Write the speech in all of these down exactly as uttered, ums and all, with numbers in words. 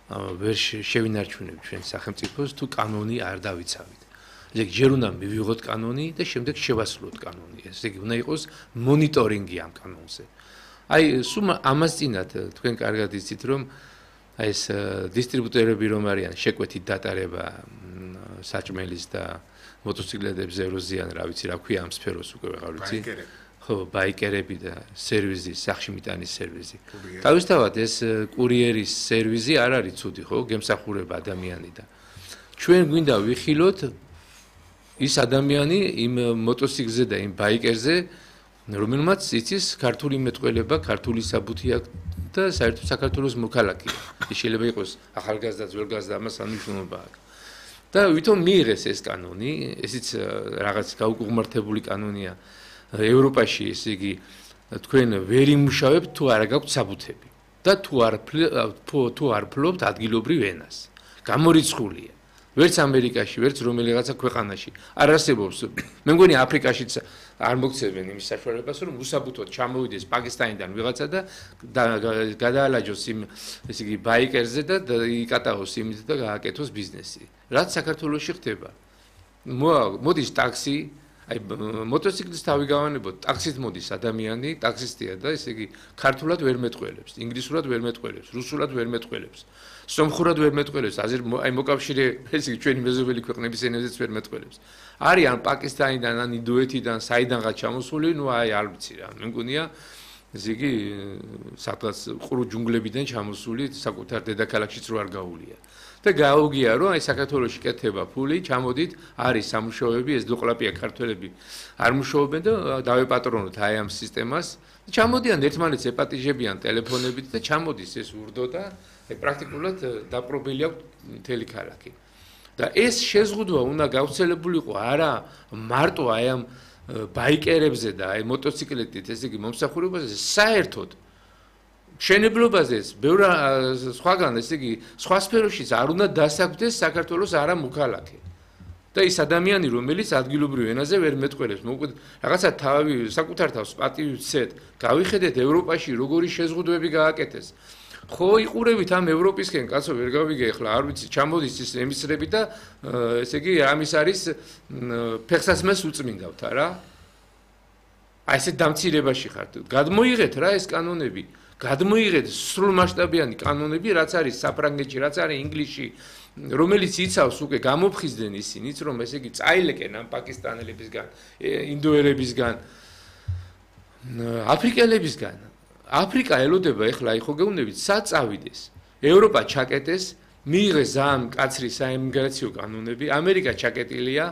ვერ შევინარჩუნებთ ჩვენ სახელმწიფოს თუ კანონი არ დავიცავით. ესე იგი ჯერ უნდა მივიღოთ კანონი და შემდეგ შევასრულოთ კანონი. ესე იგი უნდა იყოს მონიტორინგი ამ კანონზე. აი სულ ამას წინათ თქვენ კარგად იცით რომ აი ეს დისტრიბუტორები რომ არიან შეკვეთით დატარება საჭმელის და მოტოციკლეტებზე ეროზიან რა ვიცი რა ქვია ამ სფეროს უკვე ვეღარ ვიცი. ხო, ბაიკერები და სერვიზი, სახში მიტანის სერვიზი. თავისთავად ეს კურიერის სერვიზი არ არის ცუდი, ხო, გემსახურება ადამიანი და ჩვენ გვინდა ვიხილოთ ის ადამიანი იმ მოტოციკლზე და იმ ბაიკერზე, რომელმაც იცის ქართული მეტყველება, ქართული საბუთი აქვს და საერთოდ საქართველოს მოქალაქეა. ის შეიძლება იყოს ახალგაზრდა, ძველგაზრდა, ამას არ მნიშვნელობა აქვს. და ვითომ მიიღეს ეს კანონი, ესიც რაღაც გაუკუღმართებული კანონია. ევროპაში ესე იგი თქვენ ვერ იმუშავებთ თუ არა გაქვთ საბუთები და თუ არ თუ არ ფლობთ ადგილობრივ ენას. გამორიცხულია. ვერც ამერიკაში, ვერც რომელიღაცა ქვეყანაში არ არსებობს. მე მგონი აფრიკაშიც არ მოგცემენ იმის საშუალებას, რომ უსაბუთოდ ჩამოვიდეს პაკისტანიდან ვიღაცა და გადაალაჯოს იმ ესე იგი ბაიკერზე და იკატაოს იმით და გააკეთოს ბიზნესი. რაც საქართველოში ხდება. მოდის ტაქსი აი მოტოციკლის თავი გავანებოთ, ტაქსით მოდის ადამიანი, ტაქსისტია და ესე იგი ქართულად ვერ მეტყველებს, ინგლისურად ვერ მეტყველებს, რუსულად ვერ მეტყველებს, სომხურად ვერ მეტყველებს, აი მოკავშირე ესე იგი ჩვენი მეზობელი ქვეყნების ენებზეც ვერ მეტყველებს. არიან პაკისტანიდან, ან ინდოეთიდან, საიდანღაც ჩამოსული, ნუ აი არ ვიცი რა, მე მგონია ესე იგი სადღაც ყრუ ჯუნგლებიდან ჩამოსული საკუთარ დედაქალაქშიც რო არ გაუულია. და გაუგია რომ აი საქართველოში კეთება ფული, ჩამოდით, არის სამუშაოები, ეს დოყლაპია ქართველები არ მუშაობენ და დავეპატრონოთ აი ამ სისტემას. ჩამოდიან ერთმანეთს ეპატიჟებიან ტელეფონებით და ჩამოდის ეს ურდო და აი პრაქტიკულად დაპყრობილი აქვს მთელი ქალაქი. და ეს შეზღუდვა უნდა გავრცელებულიყო არა მარტო აი ამ ბაიკერებზე და აი მოტოციკლეტით, ესე იგი მომსახურებაზე, საერთოდ მშენებლობაზეც ბევრ სხვაგან ესე იგი სხვა სფეროშიც არ უნდა დასაგვდეს საქართველოს არა მოქალაქე. და ის ადამიანი რომელიც ადგილობრივ ენაზე ვერ მეტყველებს, მოკლედ რაღაცა თავი საკუთარ თავს პატივი ვცეთ, გავიხედეთ ევროპაში როგორი შეზღუდვები გააკეთეს. ხო იყურებით ამ ევროპისკენ, კაცო ვერ გავიგე ახლა არ ვიცი, ჩამოდის ის ემისრები და ესე იგი ამის არის ფეხსაცმელს უწმინდავთ არა? აი ესე დამცირებაში ხართ. გადმოიღეთ რა ეს კანონები. გადმოიღეთ სრულ მასშტაბიანი კანონები, რაც არის საფრანგეთში, რაც არის ინგლისში, რომელიც იცავს უკვე გამოფხიზდნენ ისინიც, რომ ესე იგი წაილებენ ამ პაკისტანელებისგან, ინდოელებისგან, აფრიკელებისგან. აფრიკა ელოდება ეხლა აი ხო გეუბნებით, სად წავიდეს. ევროპა ჩაკეტეს, მიიღეს ძალიან მკაცრი საიმიგრაციო კანონები, ამერიკა ჩაკეტილია,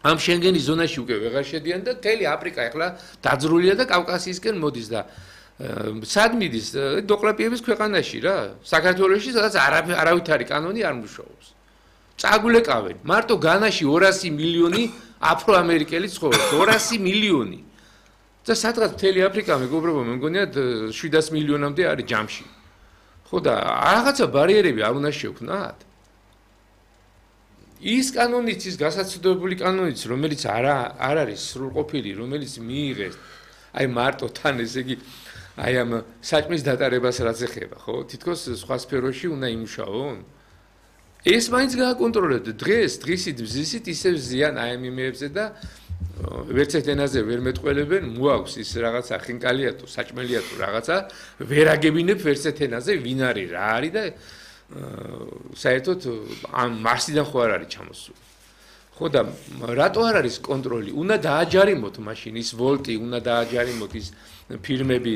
ამ შენგენის ზონაში უკვე ვეღარ შედიან და მთელი აფრიკა ეხლა დაძრულია და კავკასიისკენ მოდის და სად მიდის დოყლაპიების ქვეყანაში რა საქართველოში სადაც არავითარი კანონი არ მუშაობს. წაგულეკავენ მარტო განაში ორასი მილიონი აფროამერიკელი ცხოვრობს, ორასი მილიონი. და სადღაც მთელი აფრიკა მეგობრებო მე მგონია შვიდას მილიონამდე არის ჯამში. ხო და რაღაცა ბარიერები არ უნდა შევქმნათ. ის კანონიც ის გასაცდელი კანონიც რომელიც არ არ არის სრულყოფილი, რომელიც მიიღეს აი მარტო თან ესე იგი აი ამ საჭმის დატარებას რაც ეხება, ხო? თითქოს სხვა სფეროში უნდა იმუშაონ. ეს მაინც გააკონტროლეთ დღეს, დღისით, ბზისით ისევ ზიან აი ამ იმეებზე და ვერც ერთ ენაზე ვერ მეტყველებენ, მოაქვს ის რაღაცა ხინკალია თუ საჭმელია თუ რაღაცა, ვერ აგებინებ ვერც ერთ ენაზე ვინ არის, რა არის და საერთოდ ამ მარსიდან ხო არ არის ჩამოსული. ხო და რატო არ არის კონტროლი? უნდა დააჯარიმოთ მაშინ ის ვოლტი, უნდა დააჯარიმოთ ის ფირმები,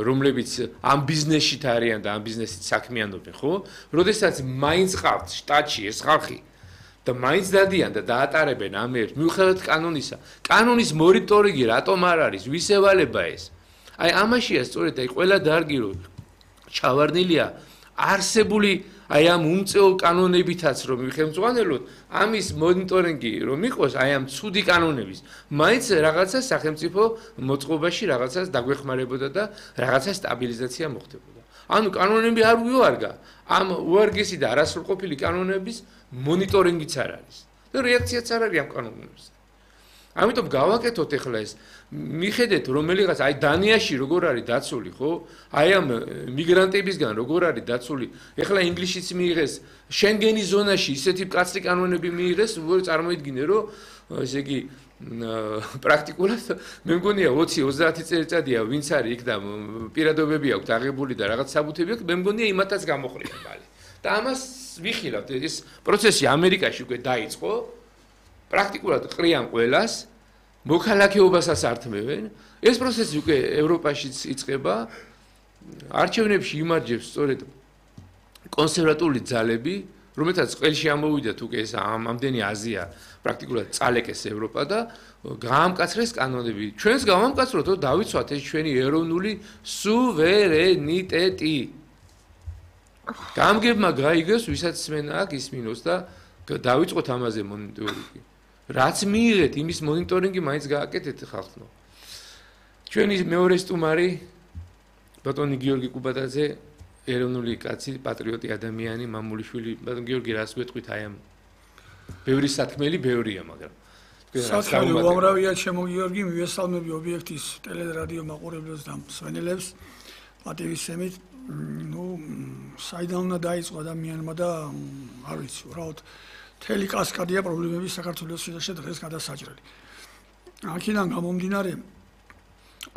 რომლებიც ამ ბიზნესშით არიან და ამ ბიზნესით საქმიანობენ, ხო? როდესაც მაინც ყავთ შტატში ეს ხალხი და მაინც დადიან და დაატარებენ ამერს, მიუხედავად კანონისა. კანონის მონიტორინგი რატომ არ არის? ვის ევალება ეს? აი ამაშია სწორედ აი ყველა დარგი რო ჩავარდნილია არსებული აი ამ უმწეო კანონებითაც რომ მიხელმძღვანელოთ, ამის მონიტორინგი რომ იყოს აი ამ ცუდი კანონების, მაინც რაღაცა სახელმწიფო მოწყობაში რაღაცას დაგვეხმარებოდა და რაღაცა სტაბილიზაცია მოხდებოდა. ანუ კანონები არ უარგა, ამ უარგესი და არასრულყოფილი კანონების მონიტორინგიც არ არის. და რეაქციაც არ არის ამ კანონებზე. ამიტომ გავაკეთოთ ახლა ეს მიხედეთ რომელიღაც აი დანიაში როგორ არის დაცული ხო აი ამ მიგრანტებისგან როგორ არის დაცული ახლა ინგლისშიც მიიღეს შენგენის ზონაში ისეთი მკაცრი კანონები მიიღეს როგორ წარმოიდგინე რომ ესე იგი პრაქტიკულად მე მგონია ოცი ოცდაათი წელიწადია ვინც არის იქ და პირადობები აქვს აღებული და რაღაც საბუთები აქვს მე მგონია იმათაც გამოყრია ხალი და ამას ვიხილავთ ეს პროცესი ამერიკაში უკვე დაიწყო პრაქტიკულად ყრიან ყველას მოქალაქეობასაც ართმევენ ეს პროცესი უკვე ევროპაშიც იწყება არჩევნებში იმარჯვებს სწორედ კონსერვატული ძალები რომელთაც ყველში ამოვიდათ უკვე ეს ამდენი აზია პრაქტიკულად წალეკეს ევროპა და გაამკაცრეს კანონები ჩვენს გავამკაცროთ რომ დავიცვათ ეს ჩვენი ეროვნული სუვერენიტეტი გამგებმა გაიგეს ვისაც სმენა აქვს ისმინოს და დავიწყოთ ამაზე მონიტორინგი რაც მიიღეთ იმის მონიტორინგი მაინც გააკეთეთ ხალხო ჩვენი მეორე სტუმარი ბატონი გიორგი კუბატაძე ეროვნული კაცი პატრიოტი ადამიანი მამულიშვილი ბატონ გიორგი რას გვეტყვით აი ამ ბევრი სათქმელი ბევრია მაგრამ სათქმელი უამრავია ჩემო გიორგი მივესალმები ობიექტის ტელერადიო მაყურებლებს და მსმენელებს პატივისცემით ну საიდან უნდა დაიწყო ადამიანმა და არ ვიცი უბრალოდ მთელი კასკადია პრობლემები საქართველოს შესახებ დღეს გადასაჭრელი. აქედან გამომდინარე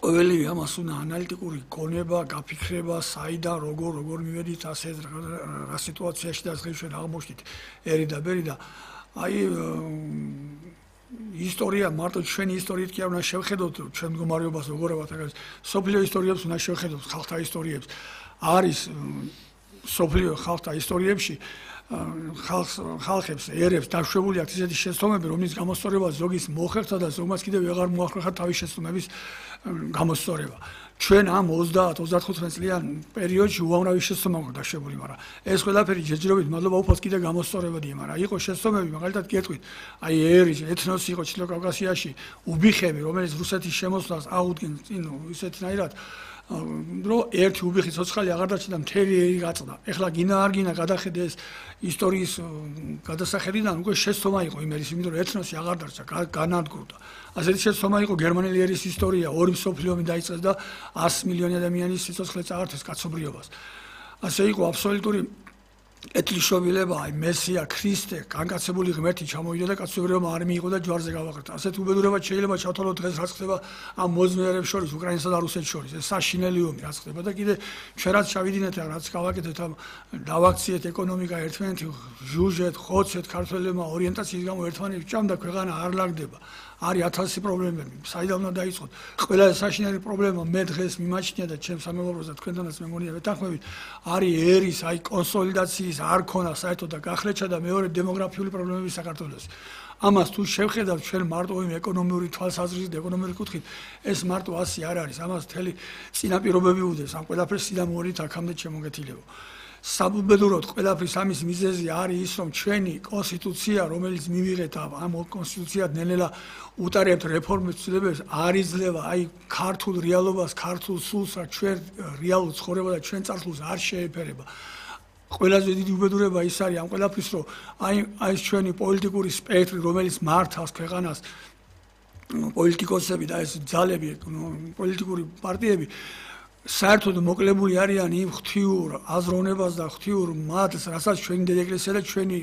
ყოველი ამას უნდა ანალიტიკური გონება, გაფიქრება, საიდან როგორ როგორ მივედით ასე რა სიტუაციაში და დღეს ჩვენ აღმოჩნდით ერი და ბერი და აი ისტორია მარტო ჩვენი ისტორიით კი არ უნდა შევხედოთ ჩვენ მდგომარეობას როგორებად აგას სოფლიო ისტორიებს უნდა შევხედოთ ხალხთა ისტორიებს არის სოფლიო ხალხთა ისტორიებში ხალხს ხალხებს ერებს დაშვებული აქვს ისეთი შეცდომები რომლის გამოსწორება ზოგის მოხერხდა და ზოგმაც კიდევ ვეღარ მოახერხა თავის შეცდომების გამოსწორება ჩვენ ამ ოცდაათ ოცდათხუთმეტ წლიან პერიოდში უამრავი შეცდომა გვაქვს დაშვებული მაგრამ ეს ყველაფერი ჯერჯერობით მადლობა უფალს კიდევ გამოსწორებადია მაგრამ იყო შეცდომები მაგალითად გეტყვით აი ერი ეთნოსი იყო ჩრდილო კავკასიაში უბიხები რომელიც რუსეთის შემოსვლას აღუდგენ წინ ისეთნაირად რომ ერთი უბიხი ცოცხალი აღარ დარჩა და მთელი ერი გაწდა. ეხლა გინა არ გინა გადახედე ეს ისტორიის გადასახედიდან უკვე შეცდომა იყო იმ ერის, იმიტომ რომ ეთნოსი აღარ დარჩა, განადგურდა. ასეთი შეცდომა იყო გერმანელი ერის ისტორია, ორი მსოფლიო ომი დაიწყეს და ას მილიონი ადამიანის სიცოცხლე წაართვეს კაცობრიობას. ასე იყო აბსოლუტური ეთლიშობილება, აი მესია, ქრისტე, განკაცებული ღმერთი ჩამოვიდა და კაცობრიობა არ მიიღო და ჯვარზე გავაყრდა. ასეთ უბედურება შეიძლება ჩავთვალოთ დღეს რაც ხდება ამ მოძმერებს შორის, უკრაინასა და რუსეთს შორის. ეს საშინელი ომი რაც ხდება და კიდე ჩვენ რაც ჩავიდინეთ და რაც გავაკეთეთ ამ დავაქციეთ ეკონომიკა ერთმანეთი ჟუჟეთ, ხოცეთ ქართველებმა ორიენტაციის გამო ერთმანეთს ჭამდა ქვეყანა არ ლაგდება. არის ათასი პრობლემები. საიდან უნდა დაიწყოთ? ყველა საშინელი პრობლემა მე დღეს მიმაჩნია და ჩემს სამეგობროს და თქვენთანაც მე მგონია ვეთანხმებით, არის ერის, აი კონსოლიდაციის არ ქონა საერთოდ და გახლეჩა და მეორე დემოგრაფიული პრობლემები საქართველოს. ამას თუ შევხედავთ ჩვენ მარტო იმ ეკონომიური თვალსაზრისით, ეკონომიური კუთხით, ეს მარტო ასი არ არის. ამას მთელი წინაპირობები უდევს. ამ ყველაფერს სიძამოვით აქამდე შემოგეთილებო. საბუბედუროდ ყველაფრის ამის მიზეზი არის ის, რომ ჩვენი კონსტიტუცია, რომელიც მივიღეთ ამ კონსტიტუციად ნელ-ნელა უტარებთ რეფორმებს ცდილებებს, არ იძლევა აი ქართულ რეალობას, ქართულ სულს, რა ჩვენ რეალურ ცხოვრება და ჩვენ წარსულს არ შეეფერება. ყველაზე დიდი უბედურება ის არის ამ ყველაფრის, რომ აი ეს ჩვენი პოლიტიკური სპექტრი, რომელიც მართავს ქვეყანას, პოლიტიკოსები და ეს ძალები, პოლიტიკური პარტიები საერთოდ მოკლებული არიან იმ ღვთიურ აზროვნებას და ღვთიურ მადლს, რასაც ჩვენი დედაეკლესია და ჩვენი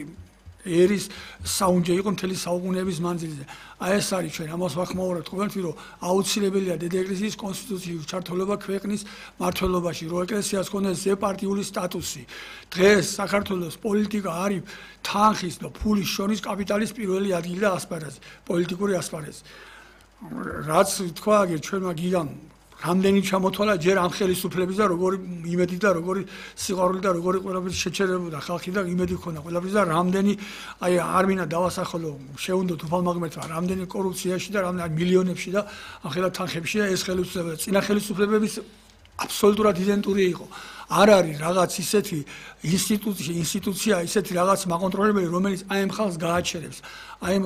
ერის საუნჯე იყო მთელი საუკუნეების მანძილზე. აი ეს არის ჩვენ ამას ვახმაურებთ ყოველთვის, რომ აუცილებელია დედაეკლესიის კონსტიტუციის ჩართულობა ქვეყნის მმართველობაში, რომ ეკლესიას ჰქონდეს ზეპარტიული სტატუსი. დღეს საქართველოს პოლიტიკა არის თანხის და ფულის შორის კაპიტალის პირველი ადგილი და ასპარეზი, პოლიტიკური ასპარეზი. რაც თქვა აგერ ჩვენმა გიგამ რამდენი ჩამოთვალა ჯერ ამ ხელისუფლების და როგორი იმედი და როგორი სიყვარული და როგორი ყველაფერი შეჩერებოდა ხალხი და იმედი ქონდა ყველაფრის და რამდენი აი არ მინდა დავასახელო შეუნდოთ უფალმაღმერთმა რამდენი კორუფციაში და რამდენი მილიონებში და ახლა თანხებში და ეს ხელისუფლება წინა ხელისუფლებების აბსოლუტურად იდენტური იყო. არ არის რაღაც ისეთი ინსტიტუცია, ინსტიტუცია, ისეთი რაღაც მაკონტროლებელი, რომელიც აი ამ ხალხს გააჩერებს, აი ამ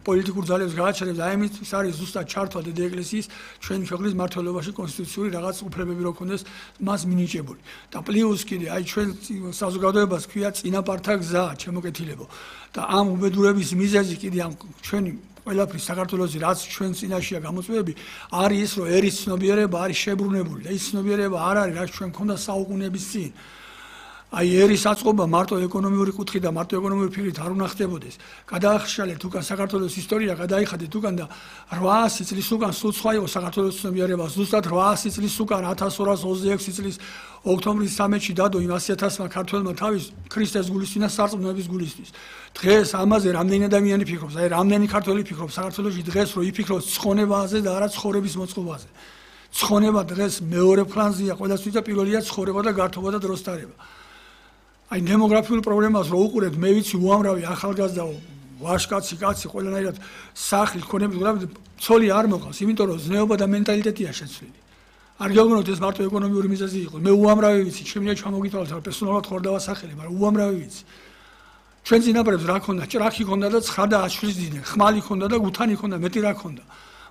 პოლიტიკურ ძალებს გააჩერებს, აი ამით არის ზუსტად ჩართვა დედაეკლესიის ჩვენი ქვეყნის მმართველობაში კონსტიტუციური რაღაც უფლებები რო ქონდეს მას მინიჭებული. და პლუს კიდე აი ჩვენ საზოგადოებას ქვია წინაპართა გზა, ჩემოკეთილებო. და ამ უბედურების მიზეზი კიდე ამ ჩვენი ყველაფრის საქართველოსი რაც ჩვენ წინაშეა გამოწვევები არის ის რომ ერის ცნობიერება არის შებრუნებული და ის ცნობიერება არ არის რაც ჩვენ მქონდა საუკუნეების წინ აი ერის აწყობა მარტო ეკონომიური კუთხით და მარტო ეკონომიური ფიქრით არ უნდა ხდებოდეს. გადაახშალეთ უკან საქართველოს ისტორია, გადაიხადეთ უკან და რვაასი წლის უკან სულ სხვა იყო საქართველოს ცნობიერება. ზუსტად რვაასი წლის უკან ათას ორას ოცდაექვსი წლის ოქტომბრის სამეთში დადო იმ ასი ათასმა ქართველმა თავის ქრისტეს გულისთვის და სარწმუნოების გულისთვის. დღეს ამაზე რამდენი ადამიანი ფიქრობს, აი რამდენი ქართველი ფიქრობს საქართველოში დღეს რომ იფიქროს ცხონებაზე და არა ცხოვრების მოწყობაზე. ცხონება დღეს მეორე ფლანზეა, ყველასთვის და პირველია ცხოვრება და გართობა და დროს დარება. აი დემოგრაფიულ პრობლემას რო უყურებთ, მე ვიცი უამრავი ახალგაზრდა ვაშკაცი კაცი ყველანაირად სახლი ქონებით, გულაბ ცოლი არ მოყავს, იმიტომ რომ ზნეობა და მენტალიტეტია შეცვლილი. არ გეუბნოთ ეს მარტო ეკონომიური მიზეზი იყო. მე უამრავი ვიცი, შემიძლია ჩამოგიტვალოთ, რა პერსონალურად ხარ დავასახელე, მაგრამ უამრავი ვიცი. ჩვენ წინაპრებს რა ქონდა? ჭრაქი ქონდა და ცხა და აშლის დინე, ხმალი ქონდა და გუთანი ქონდა, მეტი რა ქონდა.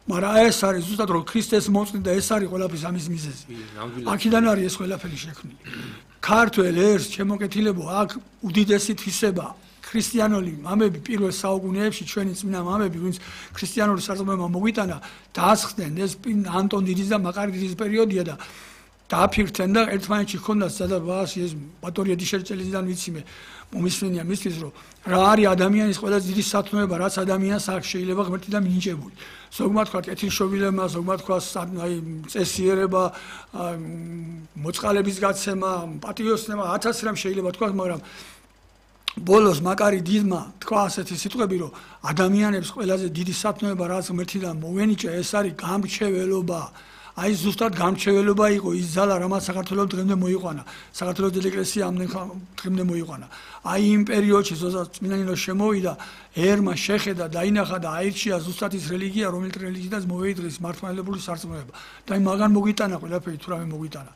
მაგრამ ეს არის ზუსტად რომ ქრისტეს მოწყვეტ და ეს არის ყველაფრის ამის მიზეზი. აქედან არის ეს ყველაფერი შექმნილი. ქართველ ერს შემოკეთილებო აქ უდიდესი თვისება ქრისტიანული მამები პირველ საუკუნეებში ჩვენი წმინდა მამები ვინც ქრისტიანული სარწმუნოება მოგვიტანა დაასხდნენ ეს ანტონ დიდის და მაკარი დიდის პერიოდია და დააფიქრდნენ და ერთმანეთში ჰქონდათ სადაც ეს ბატორია დიშერჭელიდან ვიცი მე მომისმენია მისთვის რომ რა არის ადამიანის ყველაზე დიდი სათნოება რაც ადამიანს აქ შეიძლება ღმერთი და მინიჭებული ზოგმა თქვა კეთილშობილება ზოგმა თქვა აი წესიერება მოწყალების გაცემა პატიოსნება ათასი რამ შეიძლება თქვა მაგრამ ბოლოს მაკარი დიდმა თქვა ასეთი სიტყვები რომ ადამიანებს ყველაზე დიდი სათნოება რაც ღმერთიდან მოვენიჭა ეს არის გამრჩეველობა აი ზუსტად გამრჩეველობა იყო ის ძალა რამაც საქართველოს დღემდე მოიყვანა საქართველოს ეკლესია ამდენ დღემდე მოიყვანა აი იმ პერიოდში ზოგადად წმინდანინო შემოვიდა ერმა შეხედა დაინახა და აირჩია ზუსტად ის რელიგია რომელიც რელიგიიდან მოვეიდრეს მართლმადიდებლური სარწმუნოება და აი მაგან მოგვიტანა ყველაფერი თუ რამე მოგვიტანა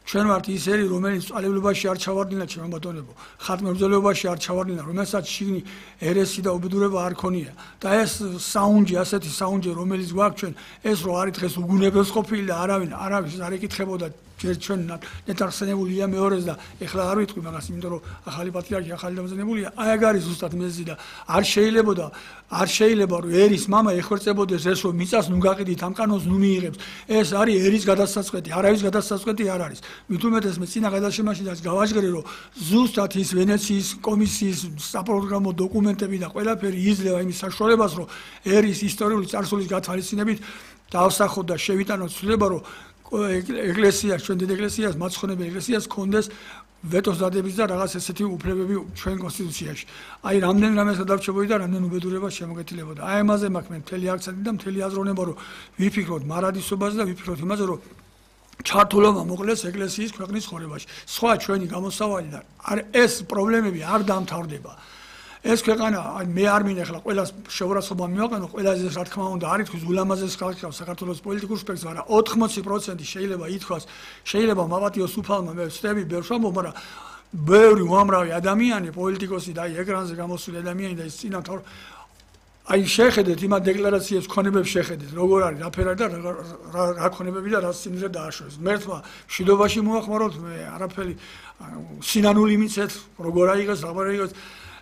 ჩვენ ვართ ის ერი რომელიც წვალებულებაში არ ჩავარდნილა ჩემო ბატონებო ხატმებრძოლეობაში არ ჩავარდნილა რომელსაც შიგნი ერესი და უბედურება არ ქონია და ეს საუნჯი ასეთი საუნჯი რომელიც გვაქვს ჩვენ ეს რო არის დღეს უგუნებელს ყოფილი და არავინ არავის არ ეკითხებოდა ჯერ ჩვენ ნეტარხსენებულია მეორეს და ეხლა არ ვიტყვი მაგას იმიტომ რომ ახალი პატრიარქი ახალი დამზადებულია აი ეგ არის ზუსტად მეზი და არ შეიძლება და არ შეიძლება რომ ერის მამა ეხორწებოდეს ეს რომ მიწას ნუ გაყიდით ამ კანონს ნუ მიიღებს ეს არის ერის გადასაწყვეტი არავის გადასაწყვეტი არ არის მით უმეტეს მე წინა გადაშემაში და გავაჟღერე რომ ზუსტად ის ვენეციის კომისიის საპროგრამო დოკუმენტები და ყველაფერი იძლევა იმის საშუალებას რომ ერის ისტორიული წარსულის გათვალისწინებით დავსახოთ და შევიტანოთ ცვლილება რომ ეკლესიას ჩვენ დიდ ეკლესიას მაცხონებელ ეკლესიას კონდეს ვეტოს დადების და რაღაც ესეთი უფლებები ჩვენ კონსტიტუციაში. აი რამდენ რამეს გადარჩებოდი და რამდენ უბედურებას შემოგეთილებოდა. აი ამაზე მაქვს მე მთელი აქცენტი და მთელი აზროვნება რომ ვიფიქროთ მარადისობაზე და ვიფიქროთ იმაზე რომ ჩართულობა მოკლეს ეკლესიის ქვეყნის ხორებაში. სხვა ჩვენი გამოსავალი და ეს პრობლემები არ დამთავრდება. ეს ქვეყანა მე არ მინახლა ყველას შეურაცხყოფა მივაყენო ყველაზე რა თქმა უნდა არის თქვის ულამაზეს ხალხი საქართველოს პოლიტიკურ სპექტრს არა ოთხმოცი პროცენტი შეიძლება ითქვას შეიძლება მაპატიოს უფალმა მე ვწდები ბევრს ვამბობ მაგრამ ბევრი უამრავი ადამიანი პოლიტიკოსი და აი ეკრანზე გამოსული ადამიანი და ის წინა თავ აი შეხედეთ იმ დეკლარაციებს ქონებებს შეხედეთ როგორ არის რაფერ არის და რა ქონებები და რა სიმძრე დააშორეს მერთმა მშვიდობაში მოახმაროთ მე არაფერი სინანული მიცეთ როგორ აიღეს რა აიღეს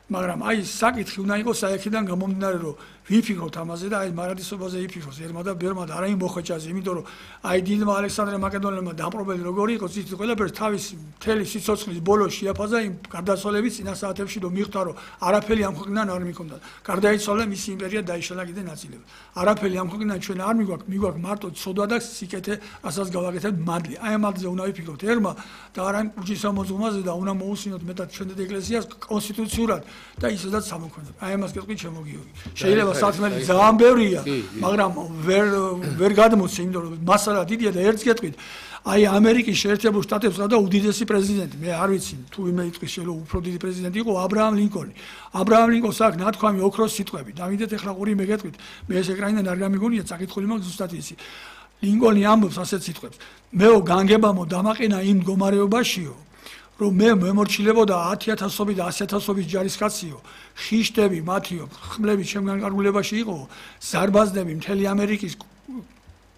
მაგრამ აი საკითხი უნდა იყოს საერთიდან გამომდინარე რომ ვიფიქროთ ამაზე და აი მარადისობაზე ვიფიქროთ ერმა და ბერმა და არა იმ მოხეჭაზე იმიტომ რომ აი დიდმა ალექსანდრე მაკედონელმა დამპყრობელი როგორი იყო ცით ყველაფერს თავის მთელი სიცოცხლის ბოლოს შეაფაზა იმ გარდაცვალების წინა საათებში რომ მიხვდა რომ არაფერი ამ ქვეყნიდან არ მიქონდა გარდაიცვალა მისი იმპერია დაიშალა კიდე ნაწილები არაფერი ამ ქვეყნიდან ჩვენ არ მიგვაქვს მიგვაქვს მარტო ცოდვა და სიკეთე რასაც გავაკეთებთ მადლი აი ამ მადლზე უნდა ვიფიქროთ ერმა და არა იმ უჯის მოძღმაზე და უნდა მოусინოთ მეტად ჩვენ ეკლესიას კონსტიტუციურად და ისედაც სამოქმედო აი ამას გეტყვი ჩემო გიორგი შეიძლება სათმელი ძალიან ბევრია მაგრამ ვერ ვერ გადმოცე იმიტომ რომ მასალა დიდია და ერთს გეტყვით აი ამერიკის შეერთებულ შტატებს და უდიდესი პრეზიდენტი მე არ ვიცი თუ იმე იტყვის შეიძლება უფრო დიდი პრეზიდენტი იყო აბრაამ ლინკოლნი აბრაამ ლინკოლნს აქვს ნათქვამი ოქროს სიტყვები დავიდეთ ეხლა ყური მე გეტყვით მე ეს ეკრანიდან არ გამიგონია წაკითხული მაქვს ზუსტად ისი ლინკოლნი ამბობს ასეთ სიტყვებს მეო განგებამო დამაყენა იმ მდგომარეობაშიო რომ მე მემორჩილებოდა ათი ათასობით და ასი ათასობით ჯარისკაციო ხიშტები მათიო ხმლები ჩემგან კარგულებაში იყო ზარბაზნები მთელი ამერიკის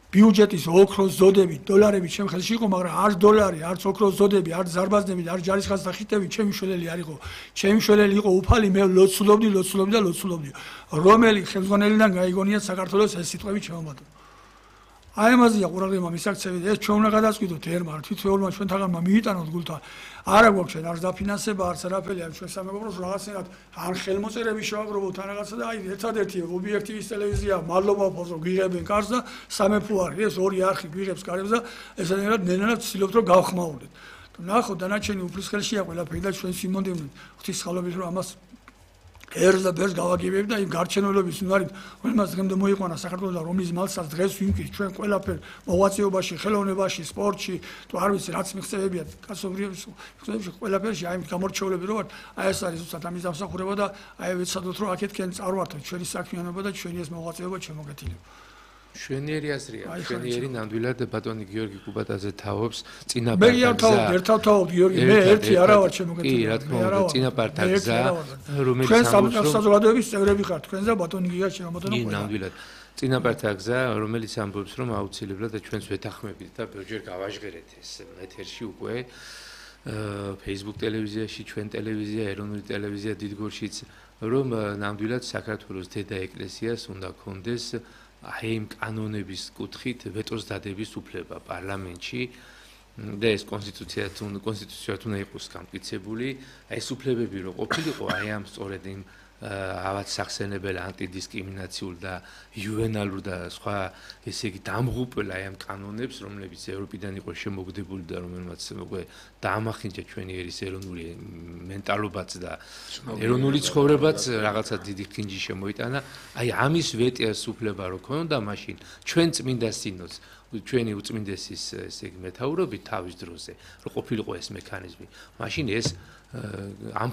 ბიუჯეტის ოქროს ზოდები, დოლარები ჩემ ხელში იყო, მაგრამ არც დოლარი, არც ოქროს ზოდები, არც ზარბაზნები, არც ჯარისხაზთა ხიტები ჩემი შველელი არ იყო. ჩემი შველელი იყო უფალი, მე ლოცულობდი, ლოცულობდი და ლოცულობდი. რომელი ხელმძღვანელიდან გაიგონიათ საქართველოს ეს სიტყვები ჩემო. აი ამაზეა ყურადღება მისაქცევი, ეს ჩვენ უნდა გადავწყვიტოთ ერმა, თვითმფრინავმა ჩვენ თაღამმა მიიტანოთ გულთან. არა გვაქვს ჩვენ არც დაფინანსება, არც არაფერი, არ ჩვენ სამეგობროს რაღაცნაირად ან ხელმოწერები შევაგროვოთ ან რაღაცა და აი ერთადერთი ობიექტივის ტელევიზია, მადლობა ფოსო გვიღებენ კარს და სამეფო არის, ეს ორი არხი გვიღებს კარებს და ესენერად ნენად ვცდილობთ რომ გავხმაურდეთ. ნახო, დანარჩენი უფლის ხელშია ყველაფერი და ჩვენ სიმონდევნით ღვთისმსხალობით რომ ამას ერს და ბერს გავაგებებ და იმ გარჩენილობის უნარით, რომელსაც დღემდე მოიყვანა საქართველოს რომლის მალსაც დღეს ვიმკით ჩვენ ყველაფერ მოღვაწეობაში, ხელოვნებაში, სპორტში, თუ არ ვიცი რაც მიღწევებია კაცობრიობის მიღწევებში ყველაფერში აი გამორჩეულები რო ვართ, აი ეს არის უცად ამის დამსახურება და აი ვიცადოთ რომ აქეთკენ წარვართოთ ჩვენი საქმიანობა და ჩვენი ეს მოღვაწეობა შემოგეთილება. შვენიერი აზრია, შვენიერი ნამდვილად ბატონი გიორგი კუბატაძე თაობს მე წინაპართა არ თავობ, ერთად თავობ გიორგი, მე ერთი არა ვარ შემოგეთილი. კი, რა თქმა უნდა, წინაპართა გზა, რომელიც ჩვენ საზოგადოების წევრები ხართ, თქვენ და ბატონი გია შემოგეთილი. კი, ნამდვილად. წინაპართა გზა, რომელიც ამბობს, რომ აუცილებლად და ჩვენს ვეთანხმებით და ბევრჯერ გავაჟღერეთ ეს ეთერში უკვე Facebook ტელევიზიაში, ჩვენ ტელევიზია, ეროვნული ტელევიზია დიდგორშიც, რომ ნამდვილად საქართველოს დედა ეკლესიას უნდა კონდეს აი იმ კანონების კუთხით ვეტოს დადების უფლება პარლამენტში და ეს კონსტიტუცია თუ კონსტიტუციად უნდა იყოს გამტკიცებული, აი ეს უფლებები რო ყოფილიყო აი ამ სწორედ იმ ავად სახსენებელ ანტიდისკრიმინაციულ და იუვენალურ და სხვა ესე იგი დამღუპელ აი ამ კანონებს, რომლებიც ევროპიდან იყო შემოგდებული და რომელმაც უკვე დაამახინჯა ჩვენი ერის ეროვნული მენტალობაც და ეროვნული ცხოვრებაც რაღაცა დიდი ხინჯი შემოიტანა. აი ამის ვეტიას უფლება რო ქონდა მაშინ ჩვენ წმინდა სინოდს ჩვენი უწმინდესის ესე იგი მეთაურობით თავის დროზე რო ყოფილიყო ეს მექანიზმი, მაშინ ეს ამ